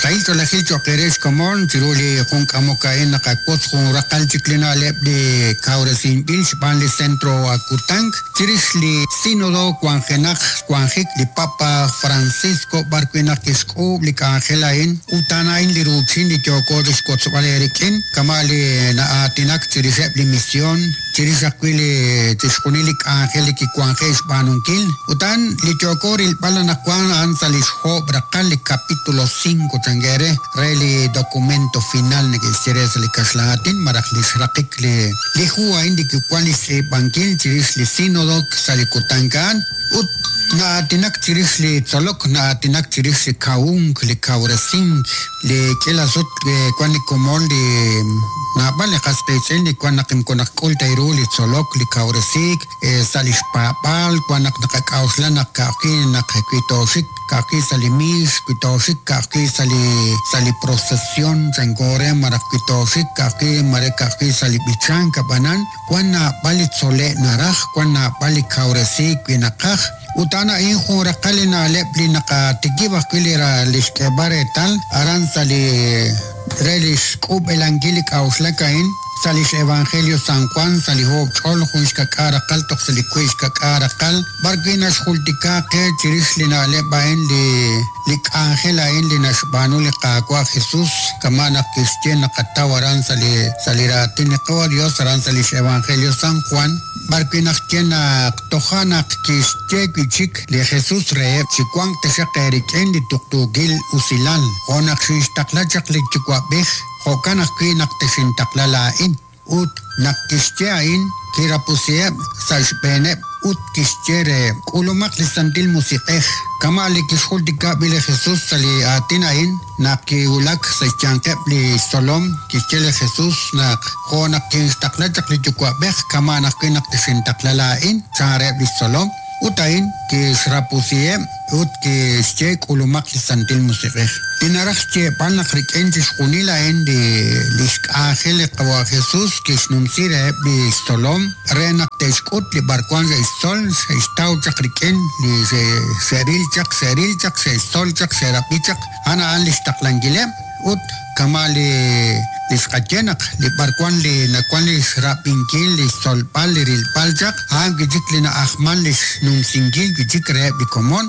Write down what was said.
Sahil ch'oolejil cho'q eere xkomon chiru li jun k'amok a'in naqawotz jun raqal chik li na'leb' li kawresinb'il xb'aan li Centro Akutank chirix li Sínodo wanjenaq xwanjik li Papa Francisco b'ar wi' naq kixk'uub' li k'anjel a'in ut a'an a'in li ruuchin li yooko chixwotzb'al eerik'in kama' li na'aatinak chirixeb' li mision chirix ajwi' li chixjunil li k'anjel li kiwanje' xb'aanunkil. Ut a'an li yooko rilb'al anaqwan a'an sa' li xjoob' raqal li capítulo cinco chanke re, re li documento final neke'xye re sa' li kaxlan aatin malaj li xraqik li li hu a'in li kiwan li xtz'iib'ankil chirix li sínodo sa' li kutan a'an. Ut na'aatinak chirix li tzolok, na'aatinak chirix li kawunk, li kawresink, li k'iila sut wan li komon li naab'al li qas qiitz'in li wan naq moko naqk'ul ta ru li tzolok, li kawresiik sa' li xpaab'aal, wan naq naqak'a'uxla naq ka'ajwi' naq wi tooxik ka'ajwi' sa' li miix, wi tooxik ka'ajwi' sa' li sa' li procesion chanko re malaj wi tooxik ka'ajwi' mare ka'ajwi' sa' li b'ichank ab'anan Wan naab'al li tzole'k naraj, wan naab'al li kawresiik wi naqaj, ut a'an a'in jun raqal li na'leb' li naqatikib' ajwi' li li xk'eeb'al reetal aran sa' li re li xk'ub'elankil li k'a'uxlak a'in sa' lix Evangelio San Juan sa' li oob' ch'ol jun xkak'aal raqal toj sa' li wiib' xkak'aal raqal b'ar wi' naxjultika qe chirix li na'leb' a'in li Li k'anjel a'in li naxb'aanu li Qaawa' Jesus, kama' naq kixye naqataw aran sa' li sa' li raatin li Qawa' Dios aran sa' lix Evangelio San Juan, b'ar wi' naq xye naq toja' naq kixye wi' chik li Jesus reheb', Chiwanq taxaq eerik'in li tuqtuukil usilal, jo' naq xinxtaqla chaq li Yuwa'b'ej, jo'kan ajwi' naq texintaqla laa'in. Ut naq kixye a'in, kirapusiheb' sa' xb'eeneb' ut kixye reheb', K'ulumaq li Santil Musiq'ej. Kama' li kixjultika b'i li Jesus sa' li aatin a'in, naq kiwulak sa' xyanqeb' li xtzolom, kixye li Jesus naq, Jo' naq kinxtaqla chaq li Yuwa'b'ej, kama'an ajwi' naq texintaqla laa'in, chan reheb' li xtzolom. Ut a'in kixrapusiheb' ut kixye k'ulumaq li Santil Musiq'ej. Li naraj xyeeb'al naq rik'in chixjunil a'in li lix k'anjel li Qawa' Jesus kixnumsi reheb' li xtzolom re naq te'xk'ut li b'arwan xe'xtzol, xe'xtaw chaq rik'in li xe'ril chaq, xe'ril chaq, xe'xtzol chaq, xe'rab'i chaq, a'an a'an lix taqlankileb'. Ut kama' li li xqaye naq li b'arwan li nawan li xrab'inkil, li xtzolb'al, li rilb'al chaq, a'an wi' chik li na'ajman li xnumsinkil wi' chik reheb' li komon.